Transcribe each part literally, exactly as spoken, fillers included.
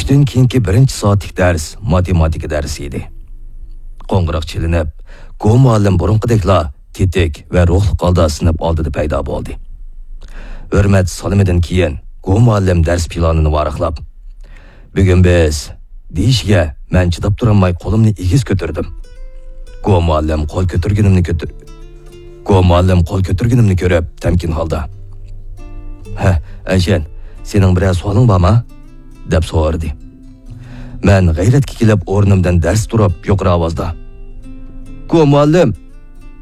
چۈشتىن كېيىنكى بىرىنچى سائەتلىك دەرس ماتېماتىكا دەرسى ئىدى. قوڭغۇراق چېلىنىپ، گو مۇئەللىم بۇرۇنقىدەكلا تېتىك ۋە روھلۇق ھالدا سىنىپ ئالدىدا پەيدا بولدى. ھۆرمەت سالىمىدىن كېيىن گو مۇئەللىم دەرس پىلانىنى ۋاراقلاپ، «بۈگۈن بىز» دېيىشىگە، مەن چىداپ تۇرالماي قولۇمنى ئېگىز كۆتۈردۈم. گو مۇئەللىم قول كۆتۈرگىنىمنى كۆتۈر-، گو مۇئەللىم قول كۆتۈرگىنىمنى كۆرۈپ، تەمكىن ھالدا، «ھە، ئەنشەن، سېنىڭ بىرەر سوئالىڭ بارمۇ؟» دەپ سورىدى. مەن غەيرەتكە كېلىپ ئورنۇمدىن دەرس تۇرۇپ يۇقىرى ئاۋازدا، «گو مۇئەللىم،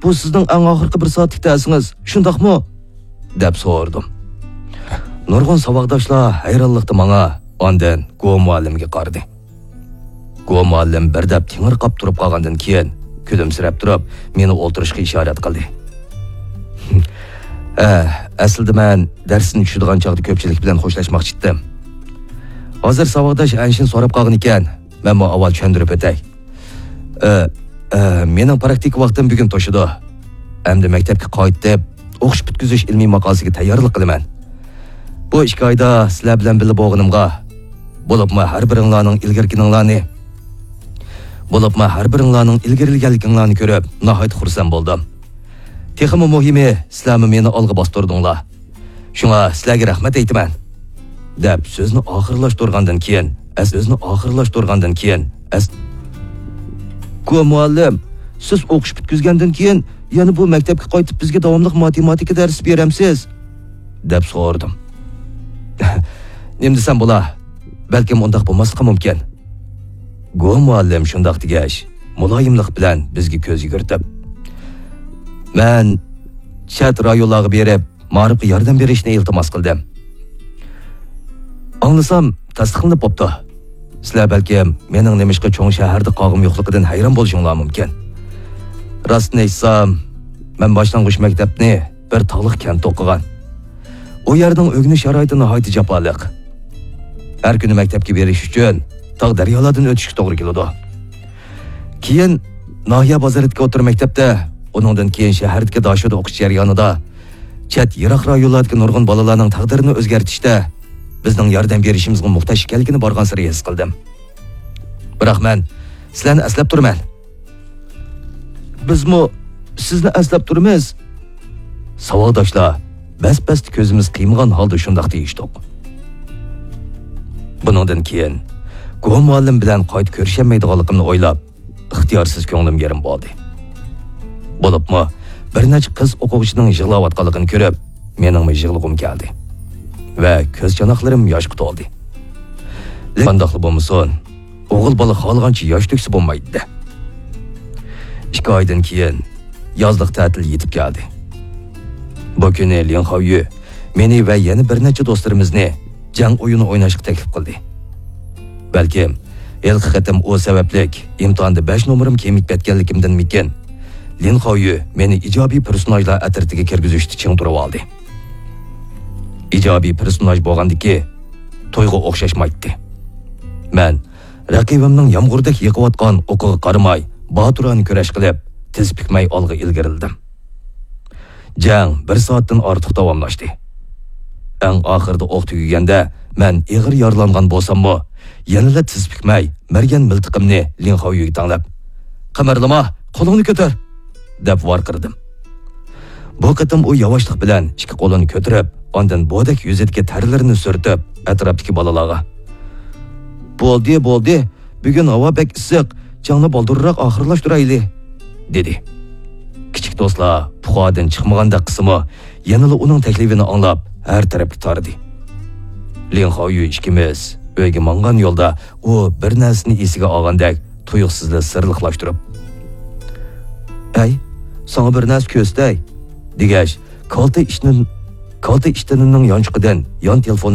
بۇ سىزنىڭ ئەڭ ئاخىرقى بىر سائەتلىك دەرسىڭىز، شۇنداقمۇ؟» دەپ سورىدىم. نۇرغۇن ساۋاقداشلار ھەيرانلىقتا ماڭا، ئاندىن گو مۇئەللىمگە قارىدى. گو مۇئەللىم بىردەم تېڭىرقاپ تۇرۇپ قالغاندىن كېيىن كۈلۈمسىرەپ تۇرۇپ مېنى ئولتۇرۇشقا ئىشارەت قىلدى. ھە، ئەسلىدە مەن دەرستىن چۈشىدىغان چاغدا كۆپچىلىك بىلەن خوشلاشماقچى ئىدىم. ھازىر ساۋاقداش ئەنشىن سوراپ قالغان ئىكەن، مەنمۇ ئاۋۋال چۈشەندۈرۈپ ئۆتەي. ئە، ئە، مېنىڭ پراكتىكا ۋاقتىم بۈگۈن توشىدۇ. ئەمدى مەكتەپكە قايتىپ، ئوقۇش پۈتكۈزۈش ئىلمىي ماقالىسىگە تەييارلىق قىلىمەن. بۇ ئىككى ئايدا سىلەر بىلەن بىللە بولغىنىمغا، بولۇپمۇ ھەر بىرىڭلارنىڭ ئىلگىرىكىنىڭلارنى، بولۇپمۇ ھەر بىرىڭلارنىڭ ئىلگىرىلىگەنلىكىڭلارنى كۆرۈپ، ناھايىتى خۇرسەن بولدۇم. تېخىمۇ مۇھىمى، سىلەرمۇ مېنى ئالغا باستۇردۇڭلار. شۇڭا سىلەرگە رەھمەت ئېيتىمەن، دەپ سۆزنى ئاخىرلاشتۇرغاندىن كېيىن، ئەس-، سۆزنى ئاخىرلاشتۇرغاندىن كېيىن، ئەس-، گو مۇئەللىم، سىز ئوقۇش پۈتكۈزگەندىن كېيىن يەنە بۇ مەكتەپكە قايتىپ بىزگە داۋاملىق ماتېماتىكا دەرسى بېرەمسىز؟ دەپ سورىدىم. نېمە دېسەم بولا؟ بەلكىم ئۇنداق بولماسلىقى مۇمكىن. گو مۇئەللىم شۇنداق دېگەچ، مۇلايىملىق بىلەن بىزگە كۆز يۈگۈرتۈپ، مەن چەت رايونلارغا بېرىپ، مائارىپقا ياردەم بېرىشنى ئىلتىماس قىلدىم. ئاڭلىسام، تەستىقلىنىپ بوپتۇ. سىلەر بەلكىم مېنىڭ نېمىشقا چوڭ شەھەردە قالغۇم يوقلۇقىدىن ھەيران بولۇشۇڭلار مۇمكىن. راستىنى ئېيتسام، مەن باشلانغۇچ مەكتەپنى بىر تاغلىق كەنتتە ئوقۇغان. ئۇ يەرنىڭ ئۆگىنىش شارائىتى ناھايىتى جاپالىق. ھەر كۈنى مەكتەپكە بېرىش ئۈچۈن تاغ دەريالاردىن ئۆتۈشكە توغرا كېلىدۇ. كېيىن ناھىيە بازىرىدىكى ئوتتۇرا مەكتەپتە، ئۇنىڭدىن كېيىن شەھەردىكى داشودا ئوقۇش جەريانىدا چەت، يىراق رايونلاردىكى نۇرغۇن بالىلارنىڭ تەقدىرىنى ئۆزگەرتىشتە بىزنىڭ ياردەم بېرىشىمىزغا موھتاج ئىكەنلىكىنى بارغانسېرى ھېس قىلدىم. بىراق مەن سىلەرنى ئەسلەپ تۇرىمەن. بىزمۇ سىزنى ئەسلەپ تۇرىمىز. ساۋاقداشلار بەس-بەستە كۆزىمىز قىيمىغان ھالدا شۇنداق دېيىشتۇق. بۇنىڭدىن كېيىن گو مۇئەللىم بىلەن قايتا كۆرۈشەلمەيدىغانلىقىمنى ئويلاپ، ئىختىيارسىز كۆڭلۈم يېرىم بولدى. بولۇپمۇ بىر نەچچە قىز ئوقۇغۇچىنىڭ يىغلاۋاتقانلىقىنى كۆرۈپ، مېنىڭمۇ يىغلىغۇم كەلدى ۋە كۆز چاناقلىرىم ياشقا تولدى. لېكىن قانداقلا بولمىسۇن، ئوغۇل بالا خالىغانچە ياش تۆكسە بولمايدۇ. ئىككى ئايدىن كېيىن يازلىق تەتىل يېتىپ كەلدى. بۇ كۈنى لىن خاۋيۈ مېنى ۋە يەنە بىر نەچچە دوستلىرىمىزنى جەڭ ئويۇنى ئويناشقا تەكلىپ قىلدى. بەلكىم ھېلىقى قېتىم ئۇ سەۋەبلىك ئىمتىھاندا بەش نومۇرۇم كېمىيىپ كەتكەنلىكىمدىنمىكىن، لىن خاۋيۈ مېنى ئىجابىي پېرسوناژلار ئەترىتىگە كىرگۈزۈشتە چىڭ تۇرۇۋالدى. ئىجابىي پېرسوناژ بولغاندىكى تويغا ئوخشاشمايتتى. مەن رەقىبىمنىڭ يامغۇردەك يېقىۋاتقان ئوقىغا قارىماي، باتۇرانە كۈرەش قىلىپ، تىز پۈكمەي ئالغا ئىلگىرىلىدىم. جەڭ بىر سائەتتىن ئارتۇق داۋاملاشتى. ئەڭ ئاخىرىدا ئوق تۈگىگەندە، مەن ئېغىر يارىلانغان بولساممۇ، يەنىلا تىز پۈكمەي، مەرگەن مىلتىقىمنى لىن خاۋيۈگە تەڭلەپ، «قىمىرلىما، قولۇڭنى كۆتۈر!» دەپ ۋارقىرىدىم. بۇ قېتىم ئۇ ياۋاشلىق بىلەن ئىككى قولىنى كۆتۈرۈپ، ئاندىن بودەك يۈزىدىكى تەرلىرىنى سۈرتۈپ، ئەتراپتىكى بالىلارغا، «بولدى، بولدى، بۈگۈن ھاۋا بەك ئىسسىق، جەڭنى بالدۇرراق ئاخىرلاشتۇرايلى» دېدى. كىچىك دوستلار پۇخادىن چىقمىغاندەك قىلسىمۇ، يەنىلا ئۇنىڭ تەكلىپىنى ئاڭلاپ، ھەر تەرەپكە تارىدى. لىن خاۋيۈ ئىككىمىز ئۆيگە ماڭغان يولدا ئۇ بىر نەرسىنى ئېسىگە ئالغاندەك تۇيۇقسىزلا سىرلىقلاشتۇرۇپ، «ئەي، ساڭا بىر نەرسە كۆرسىتەي» دېگەچ، كالتە ئىشتىن-، كالتە ئىشتىنىنىڭ يانچۇقىدىن يان تېلېفونى